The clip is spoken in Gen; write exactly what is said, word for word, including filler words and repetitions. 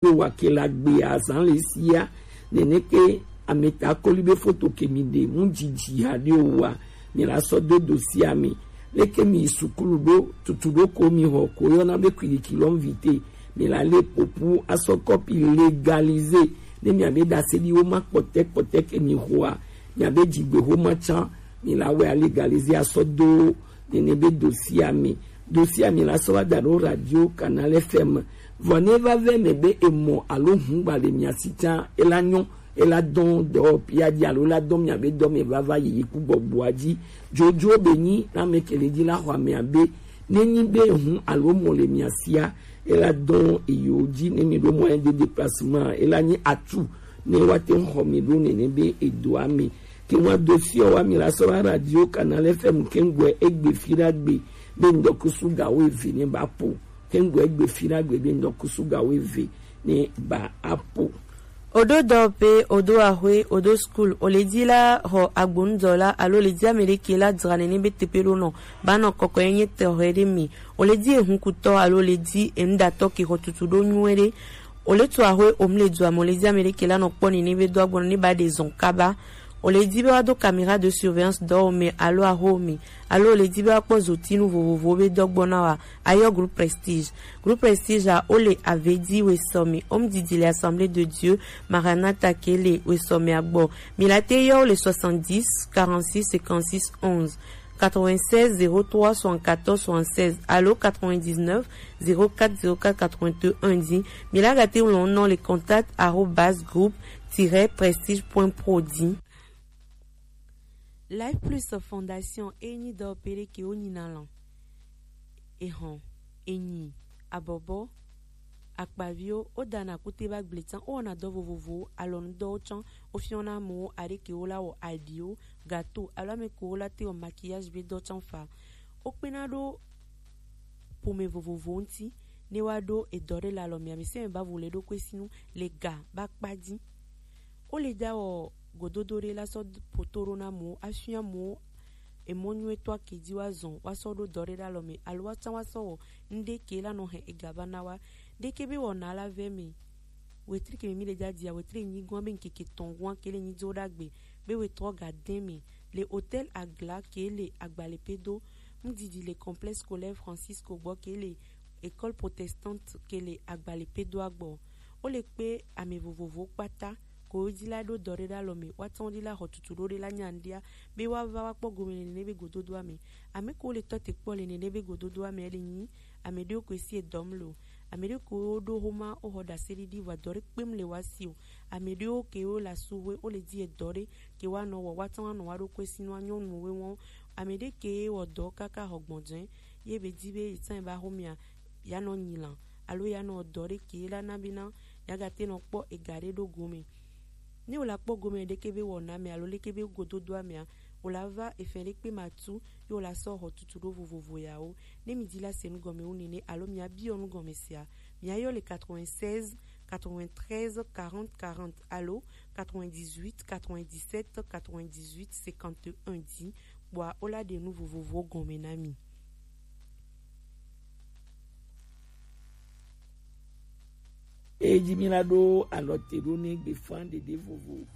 Ɖo wa ke la gbe azan le sia. Nene ke ameta koli be foto ke mi ɖe mu dzidzi ha ɖe o wa. Mi la sɔ do do si ami. Leke mi yi sukulu ɖo tutu ɖo ko mi xɔ ko yɔna be kwiliki lɔ vite. Mi la le popu asɔ kɔpi légalisé. Ne mi abe dase ɖi wo ma kpɔtɛ kpɔtɛ ke mi xɔa. Mi abe dzigbe xo ma tsan. Mi la wɛ a légalisé asɔ do nene be dosi ami. Dosi ami la sɔ wa da ɖo radio Canal F M. Vɔ ne va vɛ me be emɔ alo hungba le mia si tsa, ela nyɔ, ela dɔn dɔ pia dzi alo la dɔn mia be dɔ me vava yi ku gbɔgbɔa dzi. Dzodzo be nyi na me kele dzi la xɔ ame abe ne nyi be hun alo mɔ le mia sia, ela dɔn eyo dzi ne mi ɖo mɔ de déplacement, ela nyi atu ne wa te xɔ mi ɖo nene be edoa me. Ke wa do fiɔ wa mi la sɔ la radio Canal F M ke ŋgɔe egbe fi ɖa gbe be ŋdɔkusu gawo eve ne ba po. Ke ŋgɔe egbe fi ɖa gbe be ŋdɔkusu gawo eve ne ba apo. Odo dɔ pe odo ahwe odo school o le di la xɔ agbonudɔ la alo le di ame ɖe ke la dzra nene be teƒe ɖo nɔ ba nɔ kɔkɔ ye nye tɔxɛ ɖe mi o le di ehunkutɔ alo le di enuɖatɔ ke xɔ tutu ɖo nyuie ɖe. O le tu ahwe o mu le du ame o le di ame ɖe ke la nɔ kpɔ nene be do agbɔnɔ ne ba ɖe zɔn kaba. O le di be wa do caméra de surveillance dɔ o me alo aho o me alo o le di be wa kpɔ zotinu vovovowo be dɔ gbɔ na wa. Ayɔ groupe Prestige. Groupe Prestige a o le Avedi wesɔmi o mu didi le Assemblée de Dieu Maranatha ke le wesɔmi agbɔ. Mi la te yɔ o le soixante-dix quarante-six cinquante-six onze, quatre-vingt-seize zéro trois soixante-quatorze soixante-seize alo quatre-vingt-dix-neuf zéro quatre zéro quatre quatre-vingt-un dzi. Mi la ga te ŋlɔ nɔ le contact arobase groupe tiret prestige point pro dzi. Life Plus Fondation e nyi dɔ pere ke wo nyina lɔ. Ehɔn, enyi, abɔbɔ, akpaviwo wo dana kute ba gble tsan, wo wɔna dɔ vovovowo, alɔnudɔwo tsan, wo fiɔna amewo aɖe ke wo la wɔ aɖiwo, gato alo ame ke wo la te wɔ maquillage be dɔ tsan fa. Wo kpena ɖo ƒome vovovowo ŋuti ne woaɖo edɔ ɖe le alɔme. Ame sia ame ba vo le ɖokui si nu le ga ba kpa dzi. Wo le da wɔ gododo ɖe la sɔ poto ɖo na amewo, afia amewo emɔ nyuietɔ ke dzi woazɔ woasɔ ɖo dɔ ɖe ɖe alɔme alo woatsã woasɔ wɔ ŋɖe ke la nɔ hɛn ega va na wa. Ɖeke be wɔna la vɛ me. Wetri ke mi le dadia, wetri nyigoa be ŋkeke tɔn goa ke le nyidzo ɖagbe be wetrɔ ga dɛn me le Hôtel Agla ke le Agbalepedo. Ŋdidi le Complexe Scolaire Francisco gbɔ ke le École Protestante ke le Agbalepedoa gbɔ. Wo le kpe ame vovovowo kpata ko wo dzi la ɖo dɔ ɖe ɖe alɔ me, woate ŋu ɖi la xɔ tutu ɖo ɖe la nya ŋɖia be woava woakpɔ gome le nene be gododoa me. Ame ko le tɔ te kpɔ le nene be gododoa me le nyi ame ɖewo ko esi edɔm lo. Ame ɖewo ko ɖo xoma wo xɔ ɖaseɖiɖi vɔ dɔ ɖe kpem le woasi o. Ame ɖewo ke wo le asu hoe wo le di edɔ ɖe ke woanɔ wɔ, woate ŋu anɔ wa ɖo ko esi nɔ anyɔ nu we wɔn. Ame ɖe ke wɔ dɔ kaka xɔ gbɔnjɛ ye be di be etsã ba xomea ya nɔ nyi lan alo ya nɔ dɔ ɖe ke la na be na ya gate nɔ kpɔ ega ɖe ɖo gome. Ne wo la kpɔ gome ɖeke be wɔna me alo leke be gododoa mea, wo la va efɛn ɖe kpe ma tu ye wo la sɔ xɔ tutu ɖo vovovo yawo. Ne mi di la se nu gɔme wu nene alo mia biɔ nu gɔme sia, mia yɔ le quatre-vingt-seize quatre-vingt-treize quarante quarante alo quatre-vingt-dix-huit quatre-vingt-dix-sept quatre-vingt-dix-huit cinquante et un di kpɔa wo la ɖe nu vovovo gɔme na mi. Eyi mi la ɖo alɔ te ɖo ne gbefa ɖeɖe vovo.